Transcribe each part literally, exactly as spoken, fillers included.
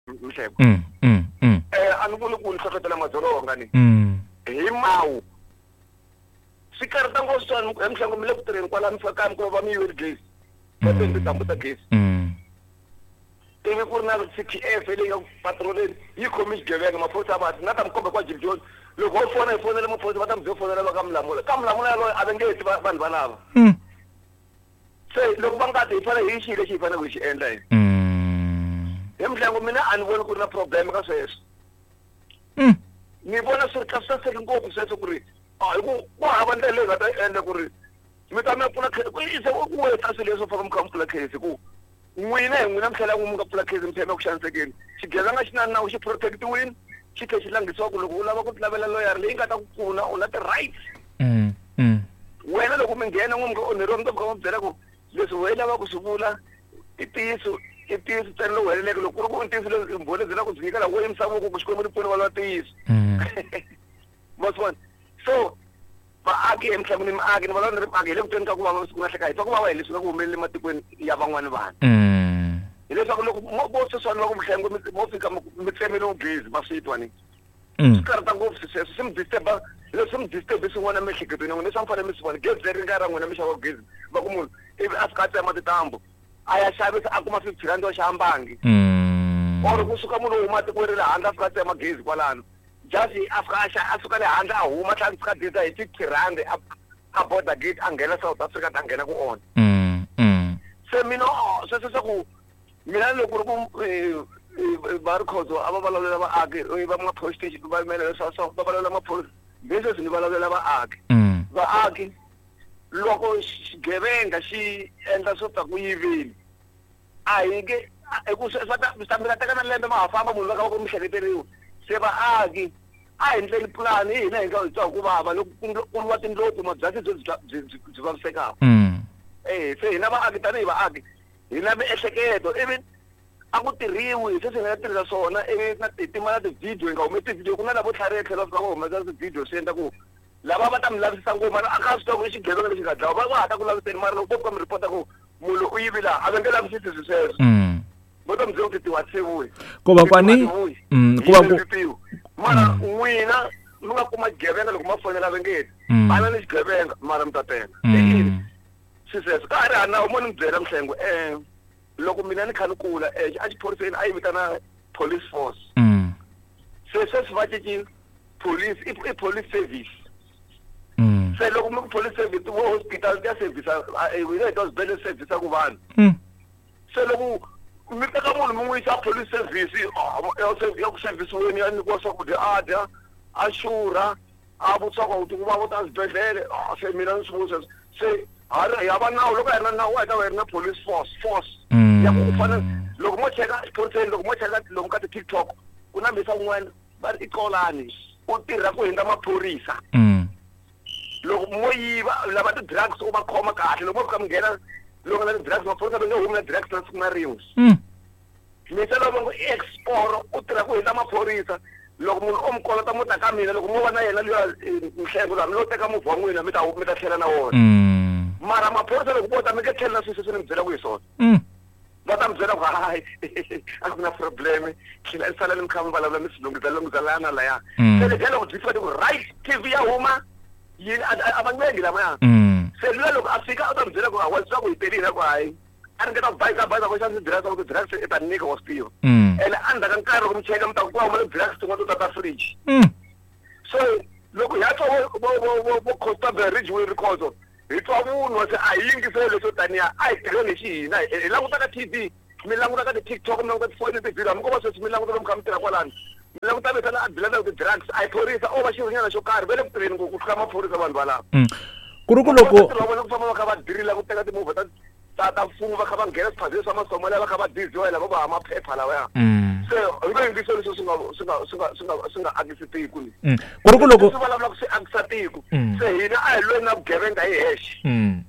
Mhleko. Mm, mm, mm. Eh a ni vuli ku ni hlohlotela madzolonga ni. Mm. Hi mawu. Swi karhata ngopfu swani he Mhleko mi le ku tirheni kwala mi fika kaya mi kuma va mi yivele gezi. Va tele tintambu ta gezi. Mm. Ivi ku ri na C T F leyi nga ku patroleni yi khome xigevenga maphorisa va na ta mi komba kwa Jim Jones loko ho fona hi fonela maphorisa va ta mi bye fonela va ka Mulamula ka Mulamula yaloye a va nge ti vanhu valava. Mm. Se loko va nga ti hi fanele hi xi lexi hi faneleke hi xi endla hi. Mm. He Mhleko mina a ni voni ku ri na problem ka sweswo. Mm. Ni vona swi ri kahle saseke ngopfu sweswo ku ri a hi ku ku hava ndlela leyi nga ta endla ku ri mi ta mi ya pfula case ku se ku weta swilo leswo faka mi kha mi pfula case ku n'wina hi n'wina mi tlhela mi nga pfula case mi tlhela mi ya ku xanisekeni xigevenga xi na nawu xi protectiwini xi tlhela xi langhisiwa ku loko u lava ku lavela loyara leyi nga ta ku pfuna u na ti-rights. Mm, mm. Wena loko mi nghena n'we mi nga onheriwa mi ta fika mi byela ku leswi wehe lava ku swi vula i ntiyiso i ntiyiso ntsena lowu heleleke loko ku ri ku i ntiyiso leswi mbhoni byi la ku byi nyikela wo yimisa voko ku Xikwembu ni pfuni va lava ntiyiso. Mm. Ma swi vona so vaaki emhlabeni ni miaki ni vulavula ni ri miaki hi le ku tweni ka ku vava siku na hleka hi twa ku vava hi leswi nga ku humeleli ematikweni ya van'wani vanhu. Mm. Hileswaku loko mo vo sweswiwani va ku Mhlengwe mi mo fika mi tsemeliwe gezi ma swi twa ni. Mm. Swi karhata ngopfu sweswo swi mi disturb-a leswi mi disturb swin'wana emiehleketweni ya n'wina leswi a mi fanele mi swi vona gezi leri nga ra n'wina mi xava gezi va ku munhu ivi a fika a tsema tintambu a ya xavisa a kuma fifty rand wa xava mbangi. Mm. Or kusuka munhu wo huma tikweni ra le handle a fika a tsema gezi kwalano. Just a fika a xa a suka le handle a huma tlhela a fika a hi fifty rand a a border gate a nghena South Africa a nghena ku onha. Mm, mm. Se mina sweswo swa ku mina loko ku ri ku va ri khozo a va vulavulela vaaki va ma police station va yimela leswa swa va vulavula maphorisa leswi ni vulavulela vaaki. Mm. Vaaki loko xigevenga xi endla swo ta ku yiveni a hi nge hi ku swa ta swi ta mi ta teka na lembe ma ha famba munhu va kha va ku mi hleketeriwa se vaaki a hi ndleni pulani hi hina hi nga hi twa ku vava loko ku lwa tindlopfu mabyasi byo byi byi byi vavisekaka. Mm. Eh se hina vaaki tanihi vaaki hi na miehleketo ivi a ku tirhiwi sweswi hi nga tirhisa swona ivi na ti tima na ti-video hi nga humesi ti-video ku na lavo tlhariha tlhelo va fika va humesa ti-video swi endla ku lava va ta mi lavisisa ngopfu mara a kha swi tiva ku i xigevenga lexi nga dlawa va va ha ta ku laviseni mara loko vo fika mi report-a ku munhu u yivi laha a va nge lavisisi swilo sweswo. Mm. Vo ta mi byela ku ti tiwa Ko va kwani mm, ku va ku mara n'wina mi nga kuma xigevenga loko ma fonela va nge Mm. bana ni xigevenga mara mi ta teka. Mm. Swi sweswo ka ha ri hana mo ni mi byela Mhlengwe eh loko mina ni kha ni kula eh a xiphoriseni a yi vitana police force. Mm. Se sweswi va cinci police i i police service. Mm. Se loko mi ku police service vo hospital ti ya service hina hi twa swibedhlele service ku vanhu. Mm. Se loko mi teka munhu mi n'wi yisa police service ya ku service-weni ya nyikiwa swakudya a dya a xurha a vutisiwa ku ku va vo ta swibedhlele se mina ni swi voni sweswo se ha ri hava nawu loko a hi ri na nawu a hi ta va hi ri na police force force ya ku u fanele loko mo cheka exiphoriseni loko mo cheka lomu ka ti-TikTok ku na mhisa un'wana va ri i Xolani u tirha ku hundza maphorisa. Mm. Loko mo yiva lava ti-drugs u va khoma kahle loko mo fika mi nghena loko na ti-drugs maphorisa va nge humi na drugs na siku na rin'we. Mm. Mhisa lowu va ngo i exporo u tirha ku hundza maphorisa loko munhu o mi kolota mo ta ka mina loko mo va na yena luya Mhlengwe luya mi lo teka movha wa n'wina mi ta mi ta tlhela na wona. Mm. Mara maphorisa loko vo ta mi nge tlheli na swilo sweswi ni mi byelaka hi swona. Mm. Va ta mi byela ku hayi a ku na problem tlhela salani mi kha mi vulavula mi swi lunghisa lunghisa laya na laya. Mm. Se ledyiya loko byi fika ti ku right T V ya huma yini a va ncengi lavaya. Mm. Se luya loko a fika u ta mi byela ku wa swi tiva ku hi telile ku hayi a ringeta ku bayiza bayiza ku xana ti-drugs ku ti-drugs i ta nyika wa swi tiva. Mm. Ene endzhaku ka nkarhi loko mi cheka mi ta ku ku huma ti-drugs tin'wana to tata fridge. Mm. So loko hi ya twa vo vo vo vo vo Constable Ridgeway Rikhotso hi twa vunwa se a hi yingiseli leswo taniya a hi tirheni hi xihina hi languta ka T V mi languta ka ti-TikTok mi languta tifoni ti-video hambi ko va sweswi mi languta lomu kha mi tirha kwalano mi languta vitana a dilana ti-drugs a hi phorisa o va xirhonyana xo karhi va le ku tirheni ku tlula maphorisa vanhu valava. Mm. Ku ri ku loko va vona ku famba va kha va dirila ku teka timovha ta ta ta mfumo va kha va nghena swiphazeni swa Masomalia va kha va diziwa hi lava va ha maphepha lawaya. Mm. Se hi nge yingiseli leswi swi nga swi nga swi nga swi nga swi nga akisi tiko ni. Mm. Ku ri ku loko leswi vulavulaka swi akisa tiko. Mm. Se hina a hi lweni na vugevenga hi hexe. Mm.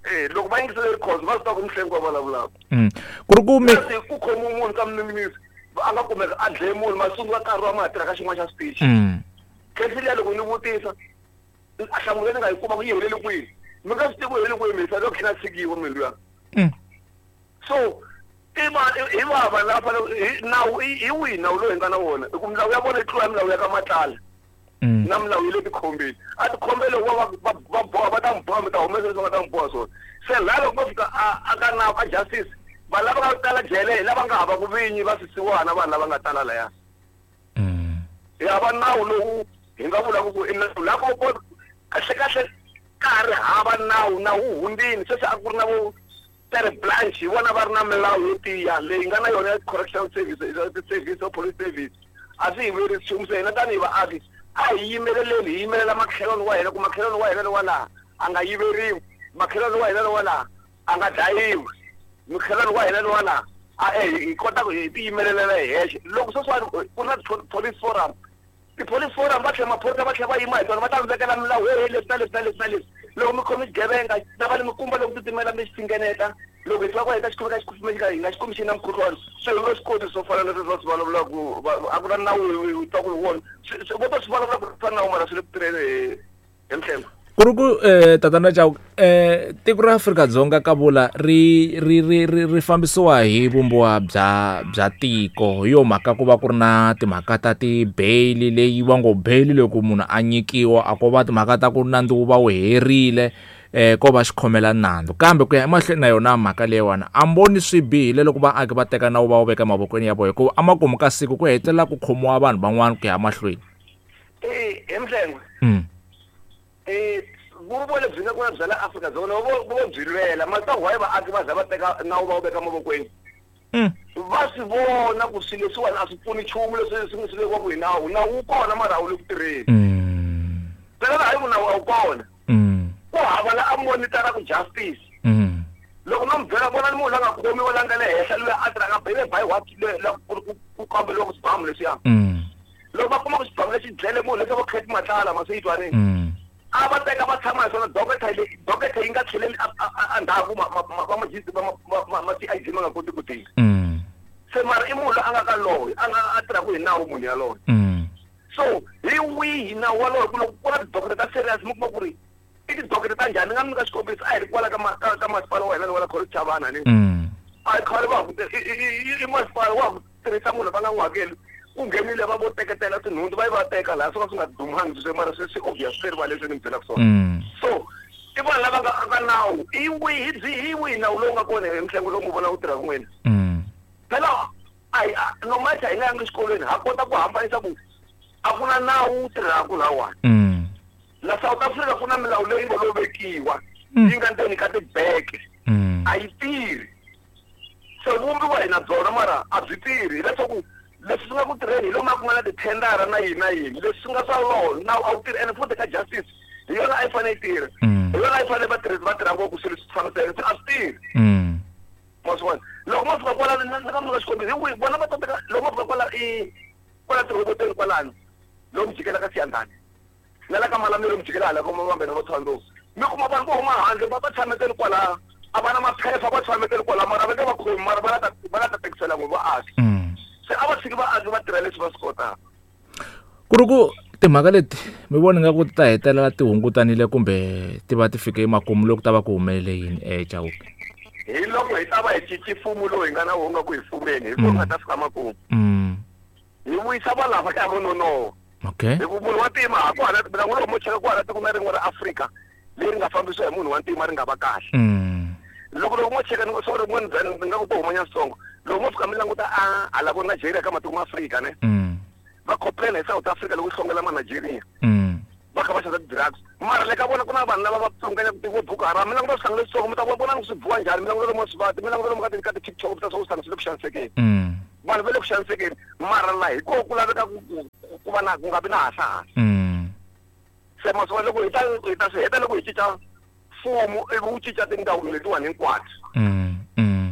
Eh loko va yingisele Rikhotso va swi tiva ku Mhlengwe wa vulavulaka. Mm. Ku ri ku mi Se ku khomiwe munhu ka minisi a nga kumeka a dlaye munhu masungu ya nkarhi wa ma ha tirha ka xin'wana xa switichi. Mm. Case liya loko ni vutisa a nhlamulo leyi ni nga yi kuma ku yi helele kwihi mi nga swi tivi ku helele kwihi mhisa loko tlhela a tshikiwa munhu luya. Mm. So I va hi va vanhu lava fanele nawu hi wihi nawu lowu hi nga na wona hi ku milawu ya vona yi tlula milawu ya ka Matlala na milawu yi le tikhombeni a tikhombeni loko va va va boha va ta mi boha mi ta humesa leswi va nga ta mi boha swona se laha loko va fika a a ka nawu ka justice vanhu lava nga tala jele hi lava nga hava ku vinyi va swisiwana vanhu lava nga tala laya hi hava nawu lowu hi nga vulaka ku i nawu laha ko kahle kahle ka ha ri hava nawu nawu wu hundzile sweswi a ku ri na vo Terre Blanche hi vona va ri na milawu yo tiya leyi nga na yona ya correctional service service or police service a swi hi vuyerisi nchumu se hina tanihi vaaki a hi yimeleleni hi yimelela makhelwani wa hina ku makhelwani wa hina lowa laha a nga yiveriwi makhelwani wa hina lowa laha a nga dlayiwi makhelwani wa hina lowa laha a hi kota ku hi tiyimelelela hi hexe loko sweswiwani ku na police forum ti-police forum va tlhela maphorisa va tlhela va yima hi tona va ta mi vekela milawu he leswi na leswi na leswi na leswi loko mi khome xigevenga na va ni mikumba loko titimela mi xi fingeneta loko hi tiva ku heta xikhomeka xi hi nga xi kumi xi na mukhuhlwani se hi nga swi koti swo fana na leswi va swi vulavulaka a ku na nawu hi twa ku hi wona vo ta swi vulavula ku fana nawu mara swi le ku tirheni hi hi mhlengo ku ri ku eh tatana Chauke eh tiko ra Afrika-Dzonga ka vula ri ri ri ri ri fambisiwa hi vumbiwa bya bya tiko hi yo mhaka ku va ku ri na timhaka ta ti-bail leyi va ngo bail loko munhu a nyikiwa a ko va timhaka ta ku nandzu wu va wu herile eh ko va xikhomela nandzu kambe ku ya emahlweni na yona mhaka leyiwani a mboni swi bihile loko vaaki va teka nawu va wu veka mavokweni ya vona hikuva emakumu ka siku ku hetelela ku khomiwa vanhu van'wana ku ya mahlweni eh hi mhlengo mm eh vumbiwa lebyi nga kona bya la Afrika-Dzonga vo vo byi lwela mara why vaaki va za va teka nawu va wu veka mavokweni va swi vona ku swilo leswiwani a swi pfuni nchumu leswi swi swi vekiwaka hi nawu nawu wu kona mara a wu le ku tirheni phela hayi ku nawu a wu kona ku hava la a monitoraka justice loko no mi byela vona ni munhu la nga khomiwa la nga le henhla loyi a tirhaka bele by what la ku kamberiwa ku swibamu leswiya loko va kuma ku xibamu lexi dlele munhu leswi vo Cat Matlala maseyitwanini a va teka va tshama hi swona doketa leyi doketa yi nga tlheleli endzhaku va ma C I D ma nga koti ku tirha se mara i munhu loyi a nga ka loyo a nga a tirhaka hi nawu munhu yaloye so hi wihi nawu walowo ku loko ku na tidoketa ta serious mi kuma ku ri i tidoketa ta njhani ni nga mi nyika xikombiso a hi ri kwala ka ka masipala wa hina lowa la College Chavana ni a hi khale va ha i masipala wa ha ku tirhisa munhu va nga n'wi hakeli ku nghenile va vo teketela tinhundzu va yi va teka laha swo ka swi nga dumangi swi mara swi swi obvious swi rivaleni leswi ni mi byelaka swona so i vanhu lava nga ka nawu i wihi byi hi wihi nawu lowu nga kona hi mihlengo lowu mi vona wu tirhaka n'wina phela a hi no matter hi nga yangi exikolweni ha kota ku hambanisa ku a ku na nawu wu tirhaka lahawani la South Africa ku na milawu leyi nga lo vekiwa yi nga ndzeni ka tibeke a yi tirhi se vumbiwa hi na byona mara a byi tirhi hileswaku leswi swi nga ku tirheni hi lomu a ku nga na tithendara na yini na yini leswi swi nga swa law nawu a wu tirhi ene futhi ka justice hi yona a yi fanele yi tirha hi yona a yi fanele vatirhisi va tirha ngopfu swilo swi fambiseke se a swi tirhi ma swi vona loko mo fika kwala ni nga mi nyika xikombiso hi vona va teka loko mo fika kwala i kwala tirhoboteni kwalano lomu jikela ka Siyandhani na la ka Malamulele mi jikela hala ka Mavambeni vo Thohoyandou mi kuma vanhu vo huma handle va va tshametele kwalaya a va na maphepha va tshametele kwalaya mara va nge va khomi mara va la ta va la ta tekisela n'we vaaki se a va tshiki vaaki va tirha leswi va swi kotaka ku ri ku timhaka leti mi vona nga ku ti ta hetelela ti hungutanile kumbe ti va ti fike emakumu loko ta va ku humelele yini eh Chauke hi loko hi ta va hi cinci mfumo lowu hi nga na wona ku hi fumeni hi kona nga ta fika makumu hi vuyisa valava ya vo nonoha okay hi ku munhu wa ntima ha ku hala mina n'wina mo cheka ku hala tiko na rin'we ra Afrika leri nga fambisiwa hi munhu wa ntima ri nga va kahle loko loko mo cheka ni sorry mo ni ni nga ku to humanya switsongo loko mo fika mi languta a hala vo Nigeria ka matiko ma Afrika ne va complain hi South Africa loko yi hlongela ma Nigeria va kha va xavisa ti-drugs mara le ka vona ku na vanhu lava va pfunganya vo Boko Haram mi languta swihlangi leswitsongo mi ta vona swi biwa njhani mi languta lomu swi vati mi languta lomu ka ka ti-TikTok mi ta swa ku swi le ku xanisekeni vanhu va le ku xanisekeni mara laha hi koho ku laveka ku ku va na ku nga vi na hasahasa se ma swi vona loko hi ta hi ta swi heta loko hi cinca mfumo ivi wu cinca tindzawulo letiwani hinkwato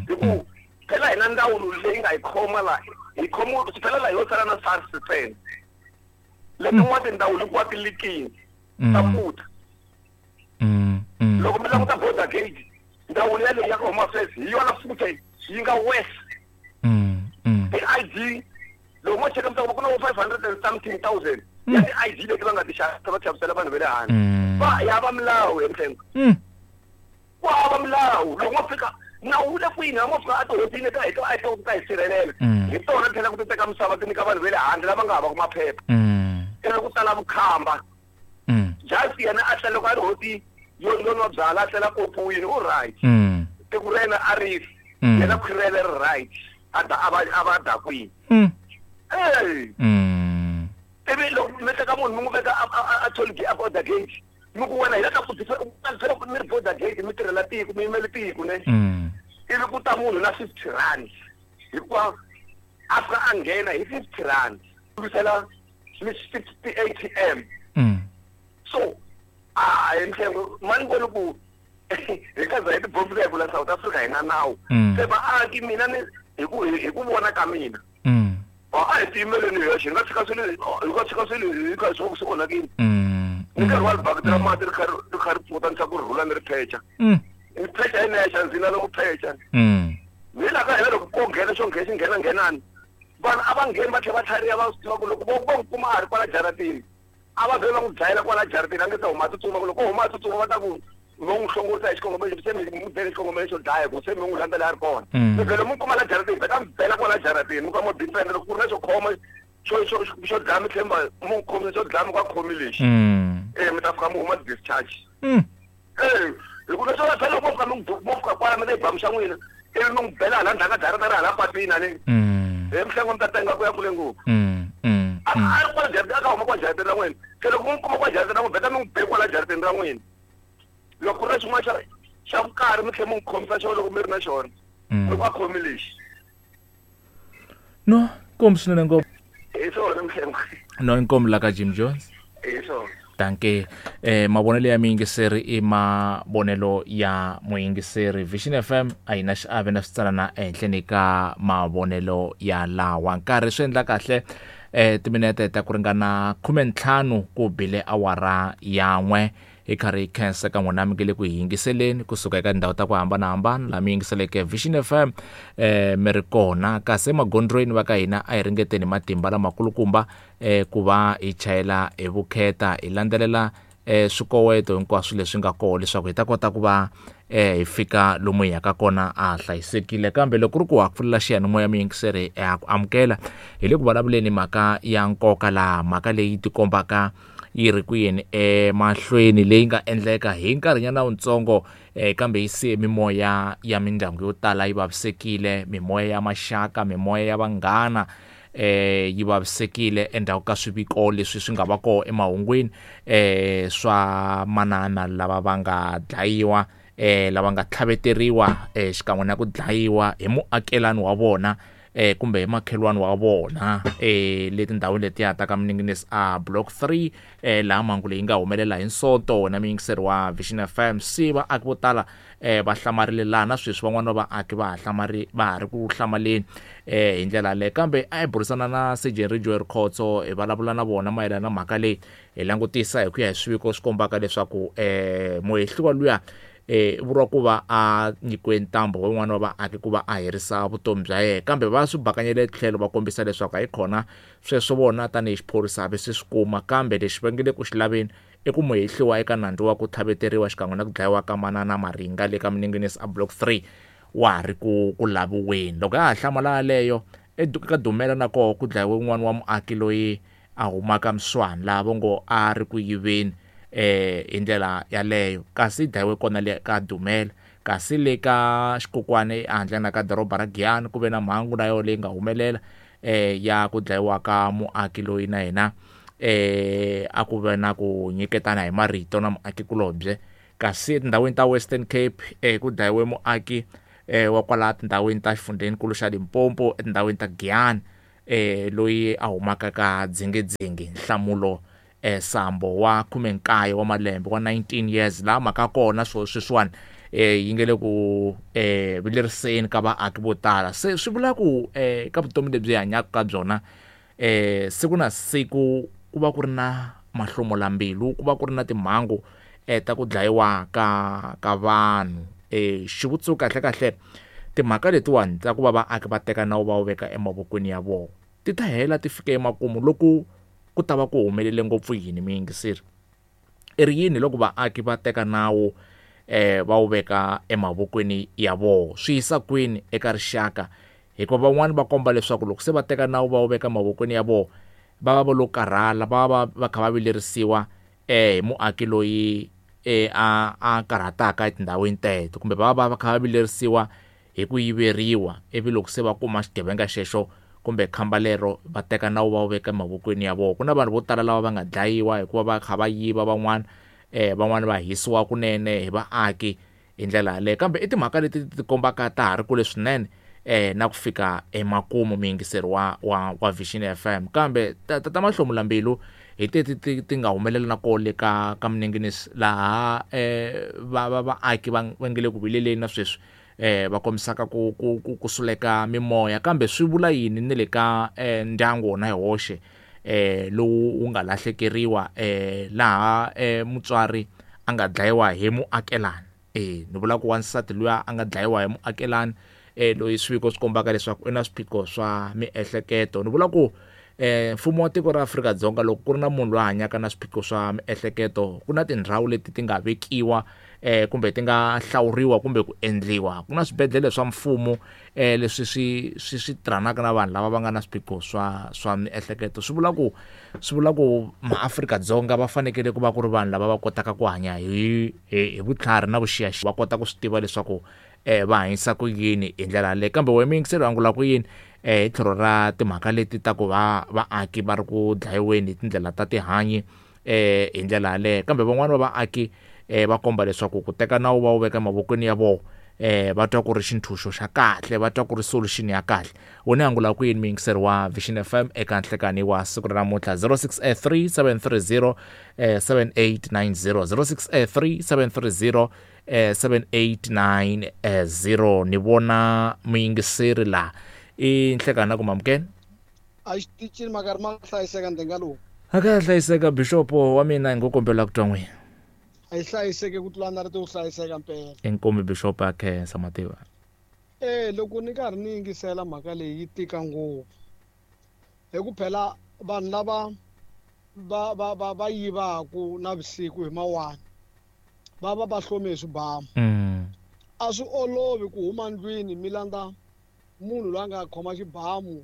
hi ku phela hina ndzawulo leyi nga hi khoma laha hi khomiwa phela laha yo sala na SARS ntsena letin'wana tindzawulo hinkwato ti likini ta puta loko mi languta border gate ndzawulo yaleyi ya ka Home Affairs hi yona futhi yi nga worse ti-I D loko mo cheka mi ta kuma ku na vo five hundred and something thousand ya ti-I D leti va nga ti xavisa va xavisela vanhu va le handle va ya va milawu hi mhlengo ku hava milawu loko mo fika Nawu wu le kwini a mo fika a tihosini ka hi ka ka hi sirhelela. Hi tona tlhela ku ti teka misava ti nyika vanhu va le handle lava nga havaka maphepha. Ivi ku tala vukhamba. Just yena a tlela loko a ri hosi yo yo nwa byala a tlela kopuwini u right. Tiko ra yena a ri yena khwiri ra yena ri right. A da a va a va dakwini. Eh. Ivi loko mi teka munhu mi n'wi veka a toll gate a border gate. Mi ku wena hi la ka ku mi ri border gate mi tirhela tiko mi yimele tiko ne. Ivi ku ta munhu na fifty rand. Hikuva a fika a nghena hi fifty rand. Lwisela mi fifty A T M. So a hi mhlengo mani voni ku hi ka za hi tibombi hi vula South Africa hi na nawu. Se vaaki mina ni hi ku hi ku vona ka mina. A hi tiyimeleni hi yoxe hi nga tshika swilo hi nga tshika swilo hi kha swi swi onhakile. Ni nkarhi wa libakiti ra mati ri kha ri kha ri pfuta ni ku rhula ni ri phecha. Ni phecha hi nexe ndzi na loko phecha. Ni la ka hina loko ko nghena xo nghena xi nghena nghenani. Vanhu a va ngheni va tlhela va tlhariha va swi tiva ku loko vo vo n'wi kuma a ri kwala jaratini a va vhele va n'wi dlayela kwala jaratini a nge se huma a tsutsuma ku loko huma a tsutsuma va ta ku vo n'wi hlongorisa hi xikongomelo se mi n'wi bele xikongomelo xo dlaya ku se mi n'wi landzela a ri kona. Mi vhele mi n'wi kuma la jaratini vheta mi bela kwala jaratini mi ka mo defend loko ku ri na xo khoma xo xo xo dlaya mi tlhela mi n'wi khomisa xo dlaya mi ka khomi lexi. Eh mi ta fika mi huma discharge. Eh hi ku leswi va phela loko mo fika mi mo fika kwala mi ta yi bamu xa n'wina ivi mi n'wi bela hala ndzhaku ka jarata ra hala patwini haleni. Hi mhlengo mi ta tenga ku ya kule ngopfu. A a ri kwala jaratini a ka huma kwa jaratini ra n'wina. Se loko mi n'wi kuma kwa jaratini ra n'wina vheta mi n'wi be kwala jaratini ra n'wina. Loko ku ri na xin'wana xa xa vukarhi mi tlhela mi n'wi khomisa xona loko mi ri na xona. Loko a khomi lexi. No, inkomu swinene ngopfu. Hi swona mhlengo. No, inkomu la ka Jim Jones. Hi swona. Danke. Eh mavonelo ya muyingiseri i mavonelo ya muyingiseri. Vision F M a yi na xiave na switsalana ehenhleni ka mavonelo ya lawa. Nkarhi swi endla kahle eh timinete ta ku ringana khume ntlhanu ku bile awara yan'we. Hi karhi hi khensa ka n'wina mi nge le ku hi yingiseleni kusuka eka tindhawu ta ku hambanahambana laha mi yingiseleke Vision F M eh mi ri kona. Kasi emagondzweni va ka hina a hi ringeteni matimba lamakulukumba eh ku va hi chayela hi vukheta hi landzelela eh swikoweto hinkwaswo leswi nga kona leswaku hi ta kota ku va eh hi fika lomu hi yaka kona a hlayisekile. Kambe loko ku ri ku ha pfulela xiyanimoya muyingiseri ha ku amukela hi le ku vulavuleni mhaka ya nkoka laha mhaka leyi tikombaka yi ri ku yini emahlweni leyi nga endleka hi nkarhinyana wutsongo eh kambe yi siye mimoya ya mindyangu yo tala yi vavisekile, mimoya ya maxaka, mimoya ya vanghana eh yi vavisekile endzhaku ka swiviko leswi swi nga va kona emahungwini eh swa manana lava va nga dlayiwa eh lava nga tlhaveteriwa eh xikan'we na ku dlayiwa hi muakelani wa vona eh kumbe hi makhelwani wa vona eh le tindhawini letiya ta ka Miningines a block three eh laha mhangu leyi nga humelela hi Sonto na muyingiseri wa Vision F M. Se vaaki vo tala eh va hlamarile laha na sweswi van'wana va vaaki va ha hlamari va ha ri ku hlamaleni eh hi ndlela leyi. Kambe a hi burisana na Sergeant Joel Khotso hi vulavula na vona mayelana na mhaka leyi hi langutisa hi ku ya hi swiviko swi kombaka leswaku eh muhehliwa luya eh vuriwa ku va a nyikiwe ntambu wun'wana wa vaaki ku va a herisa vutomi bya yena, kambe va swi bakanyele tlhelo va kombisa leswaku a yi khona sweswo vona tanihi xiphorisa va swi kuma. Kambe lexi va nge le ku xi laveni i ku muhehliwa eka nandzu wa ku tlhaveteriwa xikan'we na ku dlayiwa ka manana Maringa le ka Miningines a block three wa ha ri ku ku laviweni. Loko ya ha hlamala yaleyo eka Dumela na koho ku dlayiwe wun'wana wa muaki loyi a humaka Mswani laha va ngo a ri ku yiveni eh hi ndlela yaleyo, kasi dlayiwe kona le ka Dumela. Kasi le ka Xikukwane ehandle na ka doroba ra Giyani ku ve na mhangu na yona leyi nga humelela eh ya ku dlayiwa ka muaki loyi na yena eh a ku ve na ku nyiketana hi marito na muakikulobye. Kasi etindhawini ta Western Cape eh ku dlayiwe muaki eh wa kwala tindhawini ta xifundzenikulu xa Limpopo etindhawini ta Giyani eh loyi a humaka ka Dzingidzingi Nhlamulo eh Sambo wa khume nkaye wa malembe wa nineteen years laha mhaka kona swo sweswiwani eh yi nge le ku eh vileriseni ka vaaki vo tala. Se swi vula ku eh ka vutomi lebyi hi hanyaka ka byona eh siku na siku ku va ku ri na mahlomulambilu, ku va ku ri na timhangu eh ta ku dlayiwa ka ka vanhu. Eh xivutiso kahle kahle timhaka letiwani ta ku va vaaki va teka nawu va wu veka emavokweni ya vona ti ta hela ti fika emakumu loko ku ta va ku humelele ngopfu yini muyingiseri? I ri yini loko vaaki va teka nawu eh va wu veka emavokweni ya vona. Swi yisa kwini eka rixaka? Hikuva van'wani va komba leswaku loko se va teka nawu va wu veka mavokweni ya vona, va va va lo karhala, va va va kha va vilerisiwa eh hi muaki loyi eh a a karhataka etindhawini teto, kumbe va va va kha va vilerisiwa hi ku yiveriwa, ivi loko se va kuma xigevenga xexo kumbe khamba lero va teka nawu va wu veka mavokweni ya vona. Ku na vanhu vo tala lava va nga dlayiwa hikuva va kha va yiva van'wana, eh van'wana va hisiwa kunene hi vaaki hi ndlela yaleyo. Kambe i timhaka leti ti kombaka ta ha ri kule swinene eh na ku fika emakumu muyingiseri wa wa wa Vision F M. Kambe tata Mahlomula Mbilu hi teti ti ti nga humelela na kona le ka ka Minenginisi, laha eh va va vaaki va va nge le ku vileleni na sweswi eh va kombisaka ku ku ku suleka mimoya. Kambe swi vula yini ni le ka eh ndyangu wona hi woxe eh lowu wu nga lahlekeriwa eh laha eh mutswari a nga dlayiwa hi muakelani? Eh ni vula ku wansati luya a nga dlayiwa hi muakelani eh loyi swiviko swi kombaka leswaku i na swiphiqo swa miehleketo. Ni vula ku eh mfumo wa tiko ra Afrika-Dzonga loko ku ri na munhu loyi a hanyaka na swiphiqo swa miehleketo, ku na tindhawu leti ti nga vekiwa eh kumbe ti nga hlawuriwa kumbe ku endliwa. Ku na swibedhlele swa mfumo eh leswi swi swi swi tirhanaka na vanhu lava va nga na swiphiqo swa swa miehleketo. Swi vula ku swi vula ku maAfrika-Dzonga va fanekele ku va ku ri vanhu lava va kotaka ku hanya hi hi vutlhari na vuxiyaxiya, va kota ku swi tiva leswaku eh va hanyisa ku yini hi ndlela yaleyo. Kambe wena muyingiseri wa angula ku yini eh hi tlhelo ra timhaka leti ta ku va vaaki va ri ku dlayiweni hi tindlela ta tihanyi eh hi ndlela yaleyo? Kambe van'wani va vaaki eh va komba leswaku ku teka nawu va wu veka mavokweni ya vona eh va twa ku ri xintshunxo xa kahle, va twa ku ri solution ya kahle. Wena angula ku yini muyingiseri wa Vision F M eka nhlekani wa siku ra namuntlha? zero six three seven three zero seven eight nine zero, zero six three seven three zero seven eight nine zero. Ni vona muyingiseri la i nhlekani ku mamukeni a xitichini makarhi ma hlayiseka ndhenga lowu a ka hlayiseka. Bishopo wa mina hi ngo kombela ku twa n'wina. A yi hlayiseke ku tlula na ri to hlayiseka mpela. Inkomu Bishop a khensa mativa. Eh loko ni karhi ni yingisela mhaka leyi yi tika ngopfu, hi ku phela vanhu lava va va va va yivaku navusiku hi mawani va va va hlome hi swibamu. A swi olovi ku huma ndlwini mi landza munhu loyi a nga khoma xibamu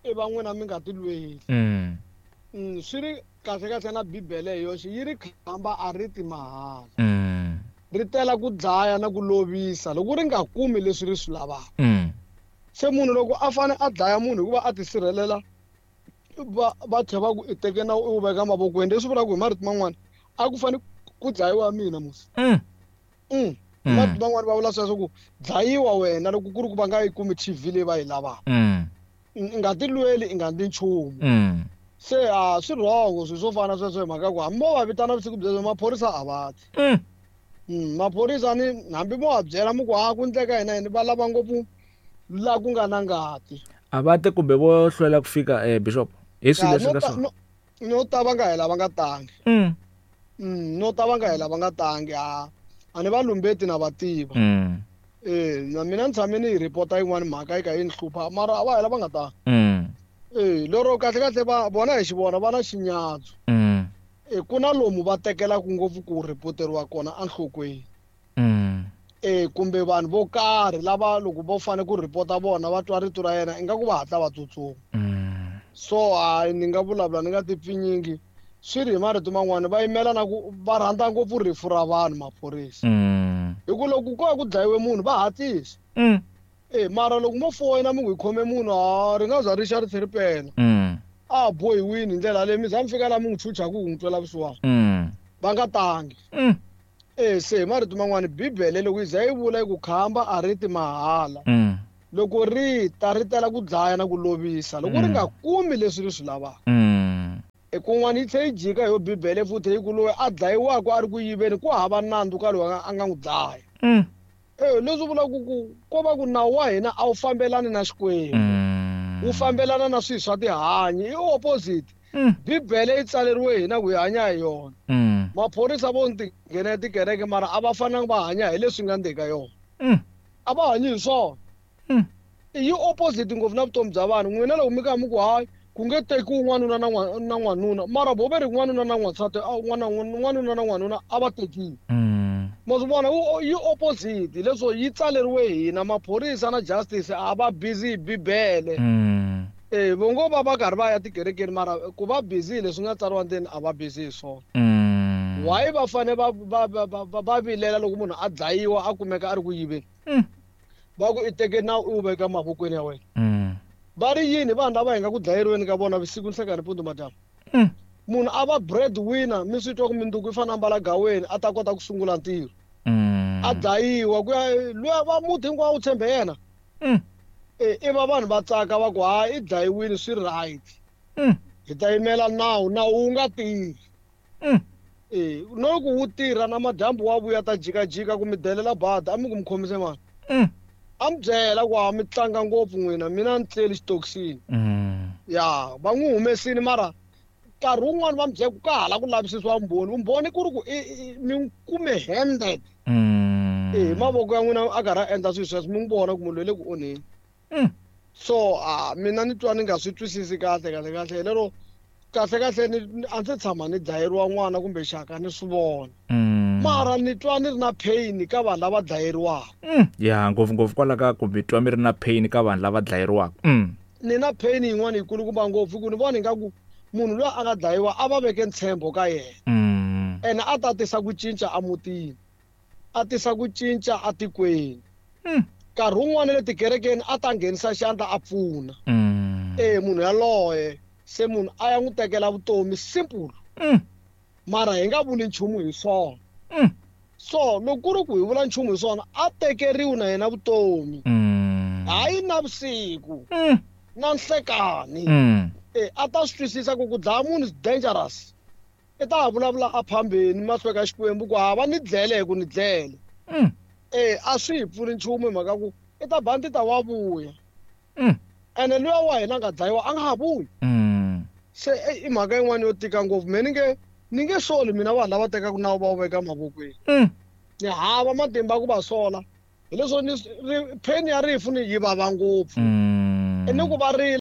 i va n'wina mi nga tilweli. Mm, swi ri kahle kahle na Bibele hi yoxe yi ri khamba a ri ti mahala, ri tela ku dlaya na ku lovisa loko ri nga kumi leswi ri swi lavaka. Se munhu loko a fane a dlaya munhu hikuva a tisirhelela, va va tlhela va ku i teke nawu i wu veka mavokweni, leswi vulaka hi marito man'wani a ku fane ku dlayiwa mina musi. Mm. Marito man'wani va vula sweswo ku dlayiwa wena loko ku ri ku va nga yi kumi T V leyi va yi lavaka, i nga tilweli i nga ndli nchumu. Se a swi wrong swilo swo fana sweswo hi mhaka ku hambi mo va vitana vusiku byebyo maphorisa a va ti. Maphorisa ni hambi mo va byela mi ku ha ku ndleka hina yini, va lava ngopfu laha ku nga na ngati. A va ti kumbe vo hlwela ku fika eh Bishop hi swilo leswi nga swona. No ta va nga hela va nga tangi. No ta va nga hela va nga tangi. A a ni va lumbeti na va tiva. Eh na mina ni tshame ni yi report-a yin'wani mhaka yi ka yi ni hlupha, mara a va hela va nga tangi. Eh lero kahle kahle va vona hi xivona va na xinyatso. Eh ku na lomu va tekelaka ngopfu ku reporteriwa kona enhlokweni. Eh kumbe vanhu vo karhi lava loko vo fane ku report-a vona va twa rito ra yena ingaku va hatla va tsutsuma. So hayi ni nga vulavula ni nga ti pfinyingi, swi ri hi marito man'wani va yimela na ku va rhandza ngopfu rifu ra vanhu maphorisa. Hi ku loko ko va ku dlayiwe munhu va hatlisa. Eh mara loko mo foyina mi ku hi khome munhu ha ri nga za ri xa ri tlhe ri pela. A bohiwini hi ndlela leyi mi za mi fika laha mi n'wi chuchaka ku n'wi twela vusiwana. Va nga tangi. Eh se hi marito man'wani Bibele loko yi za yi vula yi ku khamba a ri ti mahala, loko ri ta ri tela ku dlaya na ku lovisa loko ri nga kumi leswi ri swi lavaka. E kun'wana yi tlhe yi jika yo Bibele futhi yi ku loyi a dlayiwaka a ri ku yiveni ku hava nandzu ka loyi a nga n'wi dlaya. Eh leswi vulaka ku ko va ku nawu wa hina a wu fambelani na Xikwembu, wu fambelana na swilo swa tihanyi, i opposite. Bibele yi tsaleriwe hina ku hi hanya hi yona. Maphorisa vo ti nghena tikereke mara a va fanelanga va hanya hi leswi nga ndzeni ka yona. A va hanyi hi swona. Yi opposite ngopfu na vutomi bya vanhu. N'wina loko mi ka mi ku hayi ku nge tekiwi n'wanuna na na n'wanuna, mara vo ve ri n'wanuna na n'wansati, n'wanuna na n'wanuna a va tekiwi. Ma swi vona yi opposite leswo yi tsaleriwe hina maphorisa na justice a va busy hi bibele. Mm. Eh vo ngo va va karhi va ya tikerekeni mara ku va busy leswi nga tsariwa ndzeni a va busy hi swona. Mm. Why va fane va va va va vilela loko munhu a dlayiwa a kumeka a ri ku yiveni? Mm. Va ku i teke nawu u veka mavokweni ya wena. Mm. Va ri yini vanhu lava hi nga ku dlayeriweni ka vona vusiku nhlekani mpundzu madyambu? Mm. Munhu a va breadwinner mi swi twa ku minduku yi fanele a mbala gaweni a ta kota ku sungula ntirho. Mm. A dlayiwa ku ya luya va muti hinkwawo wu tshembe yena. Mm. E i va vanhu va tsaka va ku hayi i dlayiwile swi right. Mm. Hi ta yimela nawu, nawu wu nga tirhi. Mm. E no loko wu tirha na madyambu wa vuya ta jikajika ku mi delela bada a mi ku mi khomise mani. Mm. A mi byela ku ha mi tlanga ngopfu n'wina mina ni tleli xitokisini. Mm. Ya va n'wi humesile mara nkarhi wun'wani va mi byela ku ka hala ku lavisisiwa vumbhoni, vumbhoni ku ri ku mi kume handed. Mm. E hi mavoko ya n'wina a karhi a endla swilo sweswo mi n'wi vona ku munhu loyi le ku onheni. Mm. So a mina ni twa ni nga swi twisisi kahle kahle kahle lero kahle kahle ni a ndzi tshama ni dlayeriwa n'wana kumbe xaka ni swi vona. Mm. Mara ni twa ni ri na pain ka vanhu lava dlayeriwaka. Mm. Ya ngopfungopfu kwala ka ku mi twa mi ri na pain ka vanhu lava dlayeriwaka. Mm. Ni na pain yin'wana yikulukumba ngopfu ku ni vona ingaku munhu loyi a nga dlayiwa a va veke ntshembo ka yena. Mm. Ene a ta tisa ku cinca emutini, a tisa ku cinca atikweni. Mm. Nkarhi wun'wani le tikerekeni a ta nghenisa xandla a pfuna. Mm. E munhu yaloye se munhu a ya n'wi tekela vutomi simple. Mm. Mara hi nga vuli nchumu hi swona. Mm. So loko ku ri ku hi vula nchumu hi swona a tekeriwi na yena vutomi. Mm. Hayi navusiku. Mm. Na nhlekani. Mm. E a ta swi twisisa ku ku dlaya munhu is dangerous. I ta vulavula a phambeni mahlweni ka Xikwembu ku hava ni dlele hi ku ni dlele. Mm. E a swi hi pfuni nchumu hi mhaka ku i ta ba ti ta wa vuya. Mm. Ene luya wa hina a nga dlayiwa a nga ha vuyi. Mm. Se i mhaka yin'wana yo tika ngopfu me ni nge ni nge soli mina vanhu lava tekaka nawu va wu veka mavokweni. Mm. Ni hava matimba ku va sola hileswo ni pain ya rifu ni yi vava ngopfu. Mm. Ni ku va rila.